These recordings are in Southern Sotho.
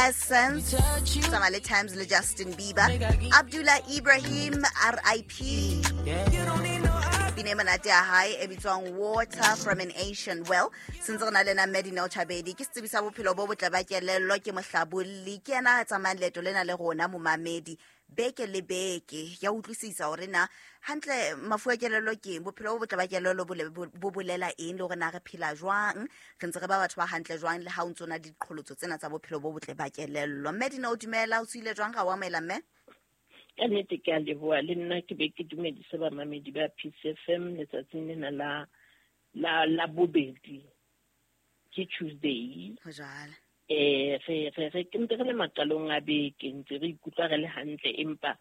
Essence, tsamaya le Times le Justin Bieber. Abdullah Ibrahim, RIP, pina e monate ya hae e bitswang Water from an Ancient Well. Sentse re na le na Medinel Chabedi, ke setsebi sa bophelo bo botle ba kelello, ke mohlabolli, ke yena a tsamayang leeto lena le rona momamedi beke le beke. Ya utlwisisa hore na hantle mafu a kelello ke eng, bophelo bo botle ba kelello bo bolela eng, le hore na re phela jwang, re ntse re ba batho ba hantle jwang le ha o ntso na le diqholotso tsena tsa bophelo bo botle ba kelello. Medina, o dumela, o tswile jwang? Ga o amohela mme? Ka nnete ke a leboha, le nna ke be ke dumedise bamamedi ba Peace FM letsatsing lena la bobedi, ke Tuesday. Ho jwalo. Re ke ntse re le maqalong a beke, ntse re ikutlwa re le hantle, empa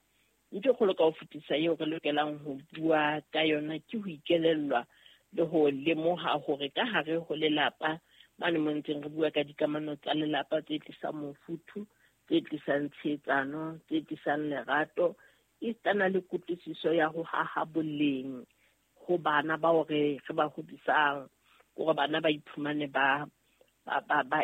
ntho e kgolo ka ho fetisa eo re lokelang ho bua ka yona ke ho ikelellwa le ho lemoha hore ka hare ho lelapa mane mo ntseng re bua ka dikamano tsa lelapa tse tlisang mofuthu, tse tlisang tshehetsano, tse tlisang lerato, esitana le kutlwisiso ya ho haha boleng ho bana bao re ba hodisang, hore bana ba iphumane ba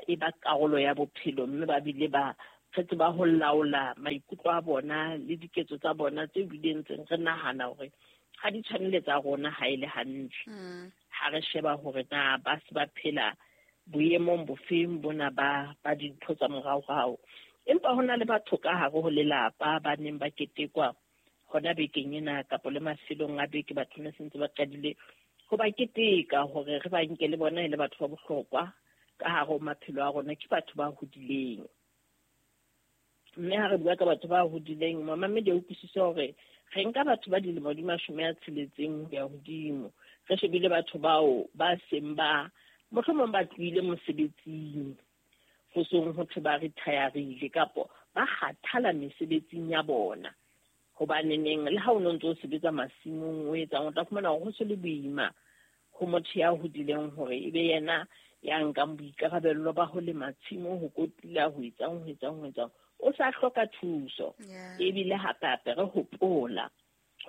e ba karolo ya bophelo, mme ba bile ba re tseba ho laola maikutlo a bona le diketso tsa bona tse bileng ntseng re nahana hore ha di tshwane le tsa rona ha e le hantle. Ha re sheba hore na ba se ba phela boemong bofeng bona ba dintho tsa moraorao. Empa ho na le batho ka hare ho lelapa ba neng ba ketekwa hona bekeng ena kapa le mafelong a beke, batho ne sentse ba qadile ho ba keteka hore re ba nke le bona e le batho ba bohlokwa ka hare ho maphelo a rona, ke batho ba hodileng. Mme ha re bua ka batho ba hodileng, mamamedi a utlwisise hore re nka batho ba dilemo di 60 ho ya hodimo. Re shebile batho bao ba seng ba mohlomong ba tlohile mosebetsing, ho seng ho thwe ba retire-ile kapo ba kgathala mesebetsing ya bona. Hobane neng le ha o no ntse o sebetsa masimong o etsang, o tla fumana hore ho se le boima ho motho ya hodileng hore e be yena ya nkang boikarabello ba ho lema tshimo, ho kotula, ho etsang, ho etsang, ho etsang. O sa hloka thuso. Ebile hape hape re hopola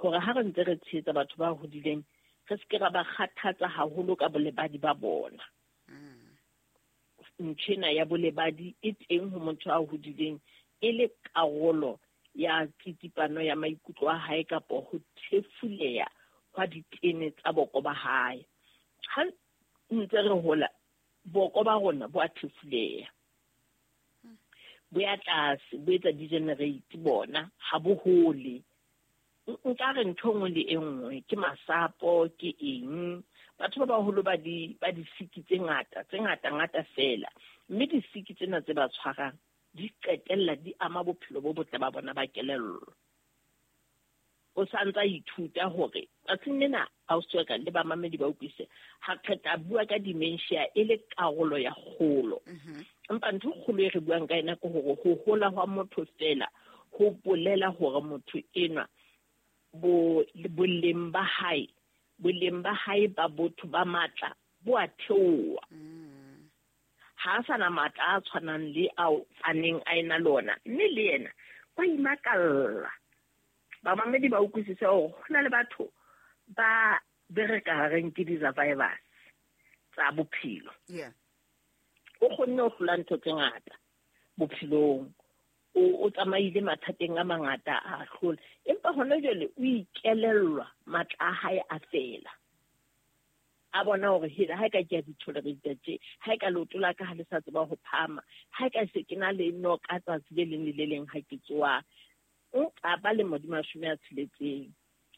hore ha re ntse re tshehetsa batho ba hodileng, re se ke ra ba kgathatsa haholo ka bolebadi ba bona. Ntho ena ya bolebadi e teng ho motho a hodileng e le karolo ya tsitsipano ya maikutlo a hae kapo ho thefuleha hwa ditene tsa boko ba hae. Ha ntse re hola, boko ba rona bo a thefuleha, bo ya tlase, bo etsa degenerate bona, ha bo hole. Nka re ntho e nngwe le e nngwe ke masapo, ke eng. Batho ba baholo ba disiki tse ngata, tse ngata ngata fela, mme disiki tsena tse ba tshwarang di qetella di ama bophelo bo botle ba bona ba kelello. O sa ntsa ithuta hore tsatsing lena ausi wa ka le bamamedi ba utlwise, ha re tla bua ka dementia e le karolo ya kgolo. Empa ntho e kgolo e re buang ka yona ke hore ho hola hwa motho fela ho bolela hore motho enwa boleng ba hae, boleng ba hae ba botho ba matla bo a theoha. Ha a sa na matla a tshwanang le ao a neng a ena le ona, mme le yena wa imakalla. Bamamedi ba utlwisise hore ho na le batho ba bereka reng ke di-survivors tsa bophelo. O kgonne ho hlola ntho tse ngata bophelong, o tsamaile mathateng a mangata a hlola, empa hona jwale o ikelellwa matla a hae a fela. A bona hore hela ha e ka ke a di-tolerate tje, ha e ka leoto la ka ha le sa tseba ho phahama, ha e ka se ke na le noka tsatsi le leng le le leng ha ke tsoha, nka ba lemo di 60.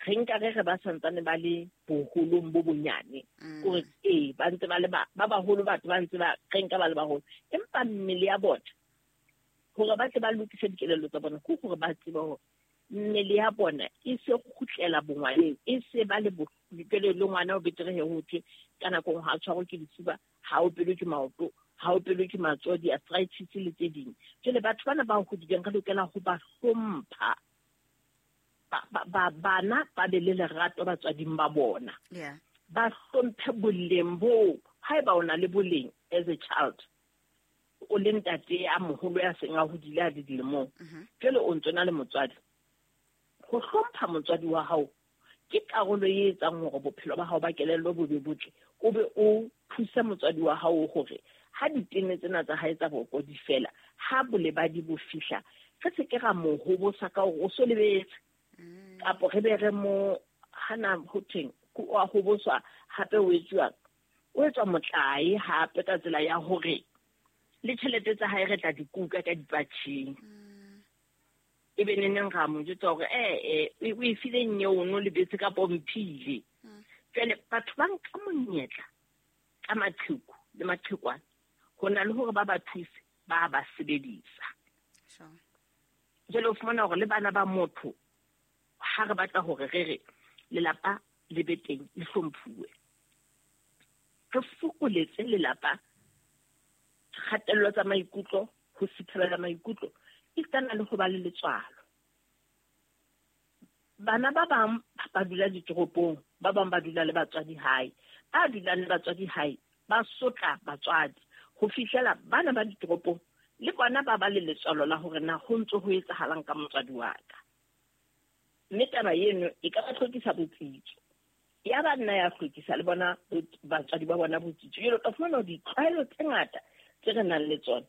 Re nka re re ba santsane ba le boholong bo bonyane. Kore ee, ba ntse ba le ba baholo, batho ba ntse ba re nka ba le baholo, empa mmele ya bona hore ba tle ba lokise dikelello tsa bona, ke hore ba tsebe hore mmele ya bona e se kgutlela bongwaneng, e se ba le jwale le ngwana o betere he ho thwe ka nako e nngwe ha tshwarwe ke lefuba, ha o pelwe ke maoto, ha o pelwe ke matsoho, di-arthritis le tse ding. Jwale batho bana ba hodileng re lokela ho ba hlompha. Bana ba be le lerato batswading ba bona. Ba hlomphe boleng boo. Haeba o na le boleng as a child, o le ntate a moholo ya seng a hodile a le dilemong, jwale o ntso na le motswadi. Ho hlompha motswadi wa hao ke karolo e etsang hore bophelo ba hao ba kelello bo be botle, o be o thuse motswadi wa hao hore Ha ditene tsena tsa hae tsa boko di fela, ha bolebadi bo fihla, re se ke ra mo hobosa ka hore o so lebetse. Kapo re be re mo hana ho thweng, o a hoboswa hape o etsuwang. O etswa motlae hape ka tsela ya hore le tjhelete tsa hae re tla di kuka ka dipatjheng. E be neneng ra mo jwetsa hore o e file nyeo o no lebetse kapa o mphile. Jwale batho ba nka monyetla ka maqheku le maqhekwana ho na le hore ba ba thuse, ba ba sebedisa. Jwale o fumana hore le bana ba motho ha re batla hore re re lelapa le be teng le hlomphuwe, re fokoletse lelapa kgatello tsa maikutlo, ho sithabela maikutlo, esitana le ho ba le letswalo. Bana ba bang ba dula ditoropong, ba bang ba dula le batswadi hae. Ba dulang le batswadi hae ba sotla batswadi ho fihlela bana ba ditoropong le bona ba ba le letswalo la hore na ho ntso ho etsahalang ka motswadi wa ka. Mme taba eno e ka ba hlokisa botsitso. Ya ba nna ya hlokisa le bona batswadi ba bona botsitso. Jwale o tla fumana hore ditlwaelo tse ngata tse re nang le tsona,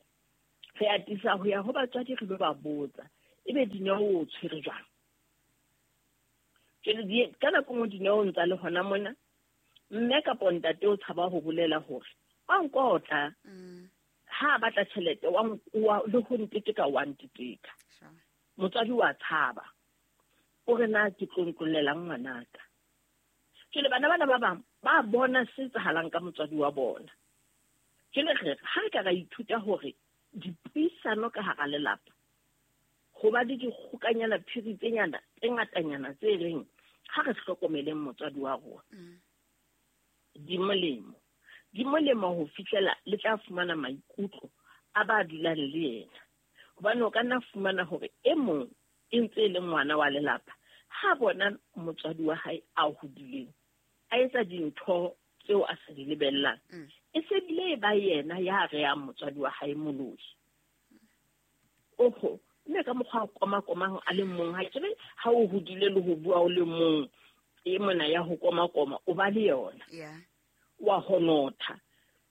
re atisa ho ya ho batswadi re lo ba botsa, ebe Dineo o tshwere jwang? Jwale ka nako nngwe Dineo o ntsa le hona mona, mme kapo ntate o tshaba ho bolela hore wa nkotla. Ha a batla tjhelete, wa le ho nteteka, wa nteteka. Motswadi wa tshaba. O re na ke tlo ntlollelang ngwanaka. Jwale bana bana ba bang ba bona se etsahalang ka motswadi wa bona. Jwale re ha re ka ra ithuta hore dipuisano ka hara lelapa, ho ba le dikgokanyana phiri tse nyana, tse ngatanyana tse reng ha re hlokomeleng motswadi wa rona. Di molemo. Di molemo ho fihlela le tla fumana maikutlo a ba dulang le yena. Hobane o ka nna fumana hore e mong e ntse e le ngwana wa lelapa, ha bona motswadi wa hae a hodileng, a etsa dintho tseo a sa di lebellang, e se bile e ba yena ya reyang motswadi wa hae moloi. Oho, mme ka mokgwa o koma-komang a le mong, ha ke re ha o hodile le ho bua o le mong, e mona ya ho koma-koma, o ba le yona. Wa honotha.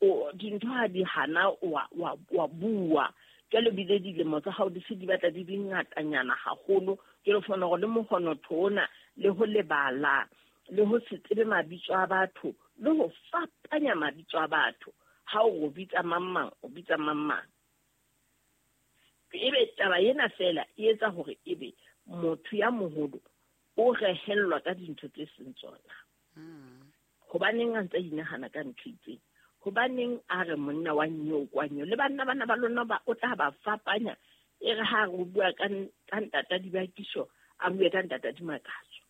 O dintho ha di hana, wa bua. Jwale bile dilemo tsa hao di se di batla di di ngatanyana haholo. Jwale o fumana hore le mohonotho ona, le ho lebala, le ho se tsebe mabitso a batho, le ho fapanya mabitso a batho. Ha o bitsa mang mang, o bitsa mang mang. Ebe taba ena feela e etsa hore ebe motho ya moholo o rehellwa ka dintho tse seng tsona. Hobaneng a ntse a inahana ka ntho itseng? Hobaneng a re monna wa nyeo kwa nyeo? Le banna bana ba lona ba o tla ba fapanya. E re ha re bua ka ntata dibakiso, a bue ka ntata dimakatso.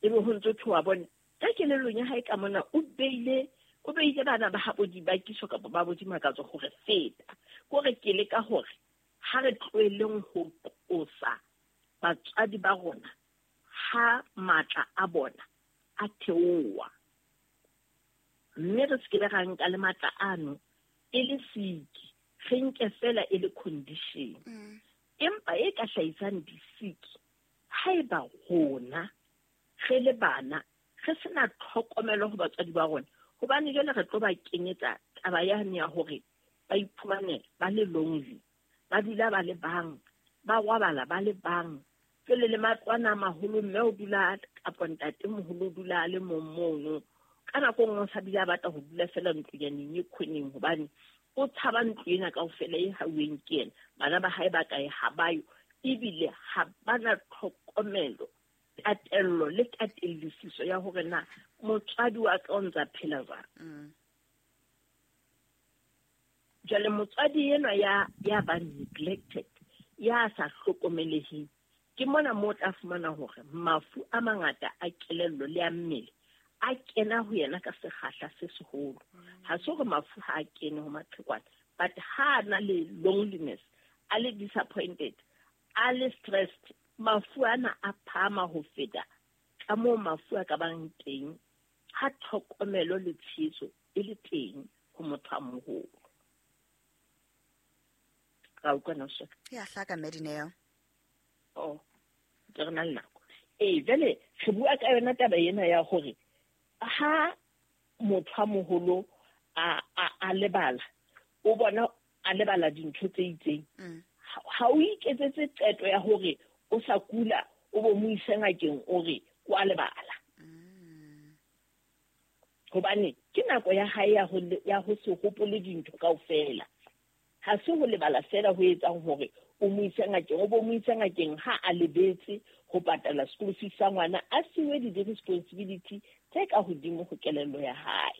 Ebe ho ntso thoa bone ka kelellong ya hae ka mona o beile bana ba habo dibakiso kapa ba bo dimakatso hore feta. Kore ke leka hore ha re tlohelleng ho qosa batswadi ba rona ha matla a bona a theoha. Mme re se ke ra nka le matla ano e le siki, re nke fela e le condition. Empa e ka hlahisang disiki haeba rona re le bana re sena tlhokomelo ho batswadi ba rona, hobane jwale re tlo ba kenyetsa taba yane ya hore ba iphumane ba le lonely, ba dula ba le bang, ba robala ba le bang. Jwale le matlwana a maholo, mme o dula kapa ntate moholo o dula a le mong mono. Ka nako nngwe o sa bile a batla ho dula fela ntlonyaneng e khoneng, hobane o tshaba ntlo ena kaofela e hauweng ke yena. Bana ba hae ba kae ha ba yo, ebile ha ba na tlhokomelo, tatello le tatellisiso ya hore na motswadi wa ka o ntsa phela jwang. Jwale motswadi enwa ya ba neglected, ya sa hlokomeleheng, ke mona moo o tla fumana hore mafu a mangata a kelello le a mmele a kena ho yena ka sekgahla se seholo. Ha se hore mafu ha a kene ho maqhekwana, but ha a na le loneliness, a le disappointed, a le stressed, mafu ana a phahama ho feta ka moo mafu a ka bang teng ha tlhokomelo le tshehetso e le teng ho motho a moholo. Ra utlwa na so? Ya hlaka Medineo. Oh, ke re na le nako. Jwale re bua ka yona taba ena ya hore ha motho a moholo a lebala, o bona a lebala dintho tse itseng, ha o iketsetse qeto ya hore o sa kula o bo mo ise ngakeng o re o a lebala. Hobane ke nako ya hae ya ho se hopole dintho kaofela. Ha se ho lebala fela ho etsang hore o mo ise ngakeng, o bo mo ise ngakeng ha a lebetse ho patala school fees sa ngwana, a siwe di-responsibility tse ka hodimo ho kelello ya hae.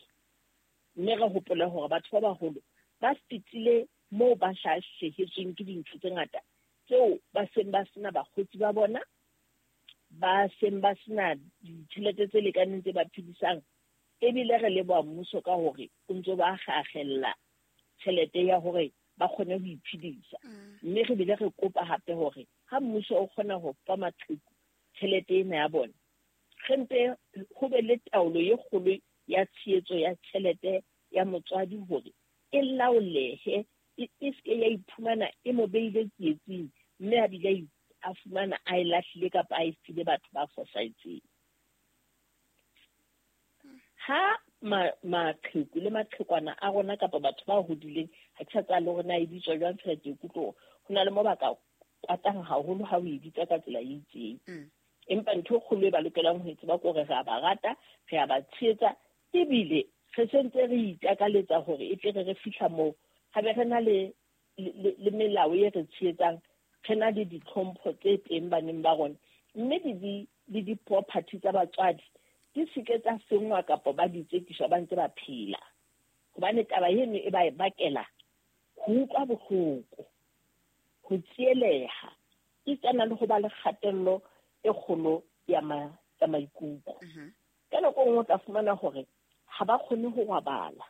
Mme re hopole hore batho ba baholo ba fetile moo ba hlahlehetsweng ke dintho tse ngata tseo ba seng ba sena bakgotsi ba bona, ba seng ba sena ditjhelete tse lekaneng tse ba phedisang. Ebile re leboha mmuso ka hore o ntso ba akgella tjhelete ya hore ba kgone ho iphedisa. Mme re bile re kopa hape hore ha mmuso o kgona ho fa maqheku tjhelete ena ya bona, re mpe ho be le taolo e kgolo ya tshehetso ya tjhelete ya motswadi hore e laolehe, e seke ya iphumana e mo beile tsietsing, mme a bile a fumana a e lahlile kapa a e file batho ba fosahetseng. Ha maqheku le maqhekwana a rona kapa batho ba hodileng, ha ke sa tseba le hore na e bitswa jwang fela, ke ikutlwa hore ho na le mo ba ka kwatang haholo ha o e bitsa ka tsela e itseng. Empa ntho e kgolo e ba lokelang ho e tseba ke hore re a ba rata, re a ba tshehetsa, ebile re sentse re itakaletsa hore e tle re fihla moo ha be re na le melao e re tshehetsang, re na le ditlhompho tse teng baneng ba rona, mme le di-property tsa batswadi di seke tsa senngwa kapa ba di tsekiswa ba ntse ba phela. Hobane taba eno e ba e bakela ho utlwa bohloko, ho tsieleha, e tsana le ho ba le kgatello e kgolo ya maikutlo. Ka nako e nngwe o tla fumana hore ha ba kgone ho robala,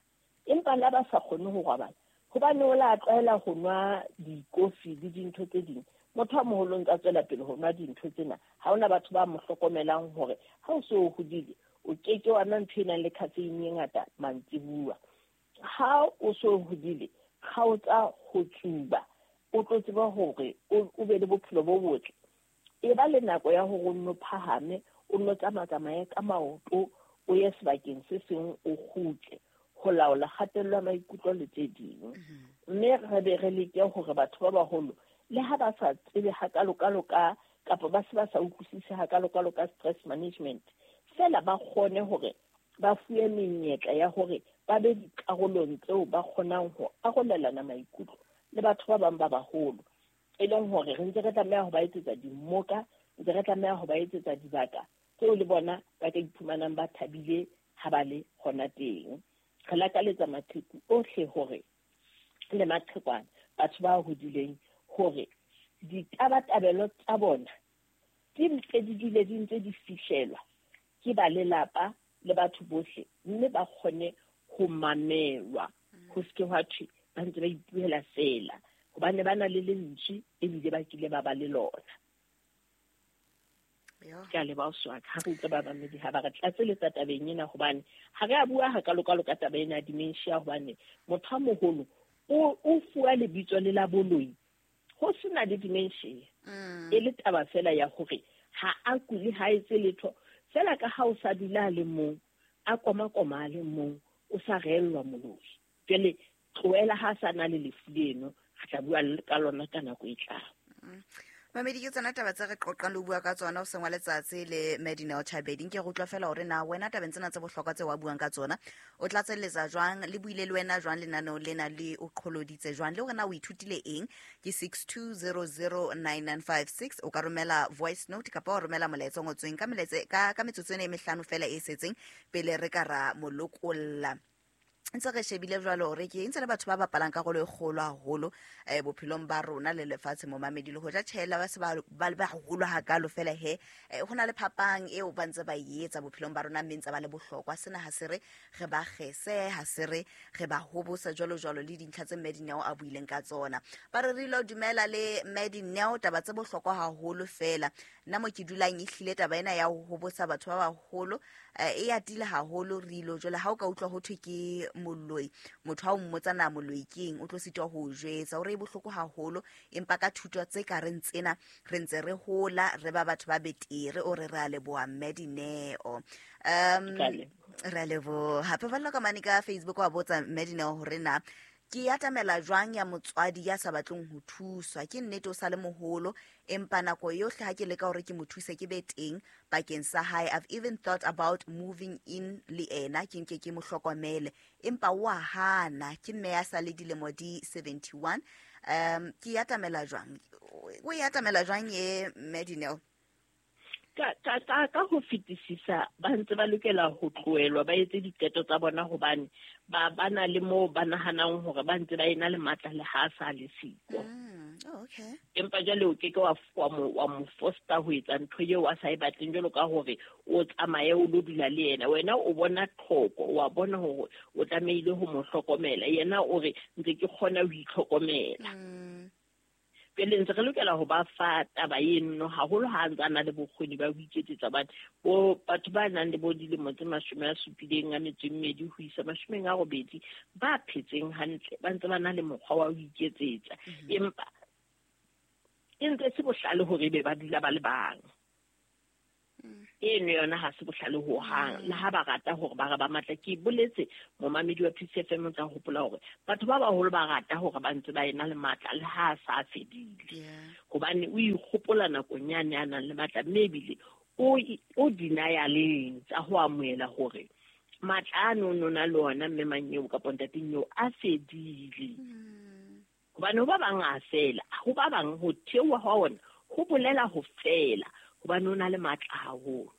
empa le ha ba sa kgone ho robala hobane o la tlwaela ho nwa dikofi le dintho tse ding. Motho a moholo ntse a tswela pele ho nwa dintho tsena, ha hona batho ba mo hlokomelang hore ha o so o hodile o keke wa nwa ntho e nang le caffeine e ngata mantsibuya. Ha o so hodile, kgaotsa ho tsuba, o tlo tseba hore o be le bophelo bo botle. E ba le nako ya hore o nno phahame, o nno tsamatsamaye ka maoto, o ye sebakeng se seng o kgutle, ho laola kgatello ya maikutlo le tse ding. Mme re be re leke hore batho ba baholo le ha ba sa tsebe hakalo-kalo ka kapa ba se ba sa utlwisise hakalo-kalo ka stress management, fela ba kgone hore ba fuwe menyetla ya hore ba be dikarolong tseo ba kgonang ho arolelana maikutlo le batho ba bang ba baholo. E leng hore re ntse re tlameha ho ba etsetsa dimmoka, ntse re tlameha ho ba etsetsa dibaka tseo le bona ba ka iphumanang ba thabile ha ba le hona teng. Re lakaletsa maqheku ohle hore le maqhekwana, batho ba hodileng, hore ditabatabelo tsa bona di mpe di dule di ntse di fihlelwa ke ba lelapa le batho bohle, mme ba kgone ho mamelwa, ho seke hwa thwe ba ntse ba ipuela fela, hobane ba na le lentswe ebile ba kile ba ba le lona. Ke a leboha Swaka, ha re utlwa ba bamedi ha ba re tlatseletsa tabeng ena, hobane ha re a bua hakalo-kalo ka taba ena ya dementia, hobane motho a moholo o fuwa lebitso le la boloi ho sena le dementia. E le taba fela ya hore ha a kule, ha etse letho fela, ka ha o sa dula a le mong, a koma-koma a le mong, o sa reellwa moloi. Jwale tlohela ha sa na le lefu leno, re tla bua ka lona ka nako e tlang. Mamedi, ke tsona taba tse re qoqang le ho bua ka tsona hoseng wa letsatsi le Madineo Chabedi. Nke re utlwa fela hore na wena tabeng tsena tse bohlokwa tse wa buang ka tsona o tlatselletsa jwang, le buile le wena jwang lenaneo lena le o qholoditse jwang, le hore na o ithutile eng. Ke 62009956. O ka romela voice note kapa wa romela molaetsa o ngotsweng ka ka metsotso ena e mehlano fela e setseng pele re ka ra molokolla. Ntse re shebile jwalo hore ke ntse le batho ba bapalang karolo e kgolo haholo bophelong ba rona le lefatshe momamedi, le hoja tjhela ba se ba le baholo hakalo fela he, ho na le phapang eo ba ntse ba e etsa bophelong ba rona, mme ntse ba le bohlokwa. Sena ha se re re ba kgese, ha se re re ba hobosa jwalo jwalo, le dintlha tse Madineo a buileng ka tsona. Ba re re lo dumela le Madineo, taba tse bohlokwa haholo fela. Nna mo ke dulang ehlile taba ena ya ho hobosa batho ba baholo e atile haholo. Re ilo jwale ha o ka utlwa ho thwe ke Moloi, motho ha o mmotsa na moloi ke eng, o tlo sitwa ho o jwetsa. O re e bohloko haholo, empa ka thuto tse ka reng tsena re ntse re hola, re ba batho ba betere. O re re a leboha mme Dineo. Ka leboha. Re a leboha. Paballo ka mane ka Facebook wa botsa mme Dineo hore na ke atamela jwang ya motswadi ya sa batleng ho thuswa. Ke nnete o sa le moholo, empa nako yohle ha ke leka hore ke mo thuse ke be teng bakeng sa hae. I've even thought about moving in le ena, ke nke ke mo hlokomele, empa wa hana. Ke mme ya sa le dilemo di 71. Ke atamela jwang? O e atamela jwang e mme Dineo? Ka ho fetisisa ba ntse ba lokela ho tlohelwa ba etse diqeto tsa bona, hobane ba na le moo ba nahanang hore ba ntse ba ena le matla le ha sa le siko. Oh, okay. Empa jwale o ke ke wa mo foster ho etsa ntho eo a sa e batleng, jwalo ka hore o tsamaye o lo dula le yena. Wena o bona tlhoko, wa bona hore o tlamehile ho mo hlokomela, yena o re ntse ke kgona ho itlhokomela. Pele ntse re lokela ho ba fa taba eno, haholo ha a ntse a na le bokgoni ba ho iketsetsa. Hobane bo batho ba nang le bo dilemo tse 72 ho isa 80 ba phetseng hantle, ba ntse ba na le mokgwa wa ho iketsetsa. Empa e ntse se bohlale hore ebe ba dula ba le bang. Eno yona ha se bohlale ho hang. Le ha ba rata hore ba re ba matla, ke boletse momamedi wa PCFM o tla hopola hore batho ba baholo ba rata hore ba ntse ba ena le matla le ha a sa fedile. Hobane o ikgopola nakong yane a nang le matla, mme ebile o denialeng tsa ho amohela hore matla ano no na le ona mme mang eo kapa ntateng eo a fedile. Hobane ho ba bang a fela, ho ba bang ho theoha hwa ona ho bolela ho fela, hobane o na le matla haholo.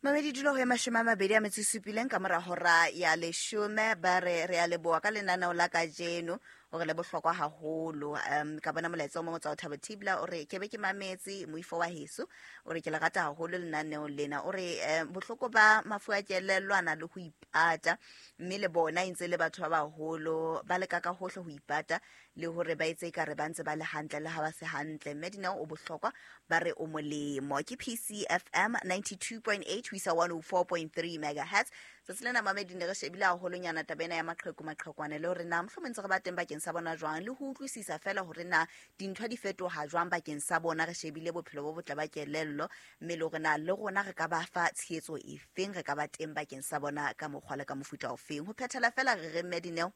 Mamedi dula ho ya 27 ka mora hora ya 10, ba re re a leboha ka lenaneo la kajeno, hore le bohlokwa haholo. Ka bona molaetsa o mong o tswa ho Thabo Thibla, o re ke be ke mametse moifo wa heso, o re ke le rata haholo lenaneo lena. O re bohloko ba mafu a kelello a na le ho ipata, mme le bona e ntse le batho ba baholo ba leka ka hohle ho ipata le hore ba etse ekare ba ntse ba le hantle le ha ba se hantle. Mme Dineo o bohlokwa, ba re o molemo. Ke PCFM 92.8 ho isa 104.3 megahertz. Tsatsi lena mamedi ne re shebile haholonyana taba ena ya maqheku maqhekwane, le hore na mohlomong ntse re ba teng bakeng sa bona jwang, le ho utlwisisa fela hore na dintho di fetoha jwang bakeng sa bona. Re shebile bophelo bo botle ba kelello, mme le hore na le rona re ka ba fa tshehetso efeng, re ka ba teng bakeng sa bona ka mokgwa le ka mofuta ofeng. Ho phethela fela re re mme Dineo,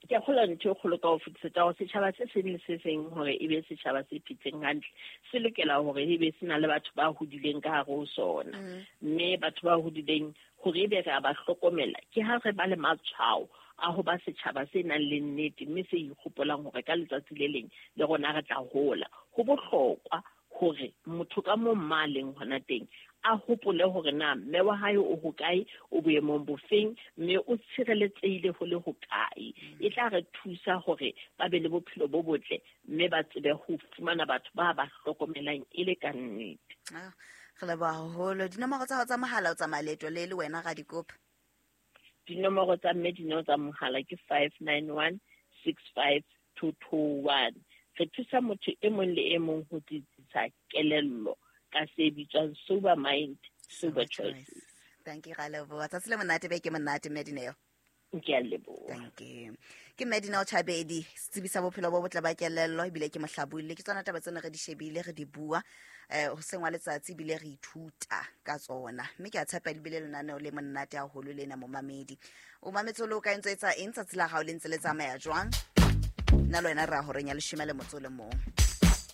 Ke a kgolwa ntho e kgolo ka ho fetisetsa hore setjhaba se seng le se seng hore e be setjhaba se phetseng hantle, se lokela hore e be se na le batho ba hodileng ka hare ho sona. Mme batho ba hodileng hore ebe re a ba hlokomela, ke ha re ba le matshwao a ho ba setjhaba se nang le nnete, mme se ikgopolang hore ka letsatsi le leng le rona re tla hola. Ho bohlokwa hore motho ka moo mma a leng hona teng a hopole hore na mme wa hae o hokae, o boemong bofeng, mme o tshireletsehile ho le hokae. E tla re thusa hore ba be le bophelo bo botle, mme ba tsebe ho fumana batho ba ba hlokomelang e le ka nnete. Re leboha haholo. Dinomoro tsa hao tsa mohala o tsamaya leeto le le wena Radikopa? Dinomoro tsa mme Dineo tsa mohala ke 591 65221. Re thusa motho e mong le e mong ho tsitsisa kelello ka se bitswang sober mind, sober choices. Thank you, ra leboha. Tsatsi le monate, be ke monate mme Dineo. Ke a leboha. Thank you. Ke mme Dineo Chabedi, setsebi sa bophelo bo botle ba kelello, ebile ke mohlabolli. Ke tsona taba tsena re di shebile, re di bua, hoseng wa letsatsi, ebile re ithuta ka tsona. Mme ke a tshepa ebile lenaneo le monate haholo lena momamedi. O mametse o le o ka ntse etsa eng tsatsi la hao le ntse le tsamaya jwang? Nna le wena re ya horeng ya 11.